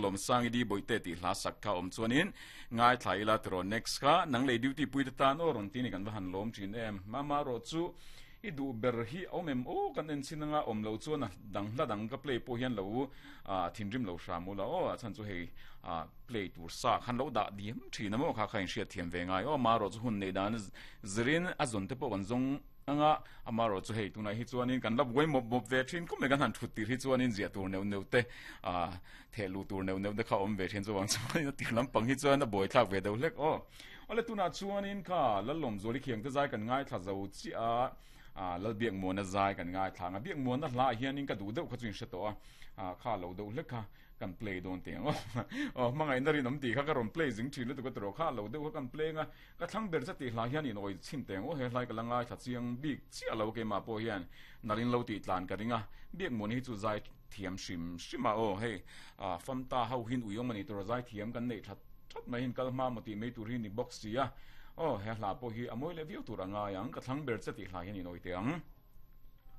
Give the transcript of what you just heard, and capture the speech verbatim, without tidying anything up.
Lawmsangi Di Bawihte tih hla sak kha awm chuanin ngaithla ila tiraw next kha nang lei duty pui te tan aw rawn ti ni kan va han lawm thin em. Mama erawh chu i duh ber hi a awm em aw kan en chin anga awm lo chuan a dang hla dang ka play pawh hian lo ah thinrim lo hram ula aw a chhan chu hei ah play tur sa khan lo dah diam thin a maw kha kha inhriat thiam ve ngai aw amaherawh chu hun neih dan zirin a zawn te pawh kan zawng anga amaherawh chu hei tunah hi chuanin kan la buai mawp mawp ve thin khawp mai kan han thut tir hi chuanin ziah tur neuh neuh te ah theh luh tur neuh neuh te kha awm ve thin chuvang chuanin a tir lampang hi chuan a buai thlak ve deuh hlek aw. Awle tunah chuanin kha Lallawmzuali Khiangte zai kan ngaithla zo chiah a, ah Lalbiakmuana zai kan ngaithla ang a, Biakmuana hlaah hianin ka duh deuh kha chu in hre tawh a, ah kha lo deuh hlek kha kan play dawn teh ang aw. Aw hmangaihna rinawm tih kha ka rawn play zing thin lutuk a tiraw kha lo deuh kha kan play ang a, ka thlang ber che tih hlah hian in awi chhin teh ang aw, he hlai ka la ngaithla chiang bik chiah lo keimah pawh hian nalhin lo tih tlan ka ring a, Biakmuana hi chu zai thiam hrim hrim a aw hei ah famta ho hin uiawm a ni tur a zai thiam kan neih that That mai hian kal hma maw tih mai tur hi ni bawk si a, aw he hla pawh hi a mawi leh viau tur a ngai ang, ka thlang ber che tih hla hian in awih teh ang.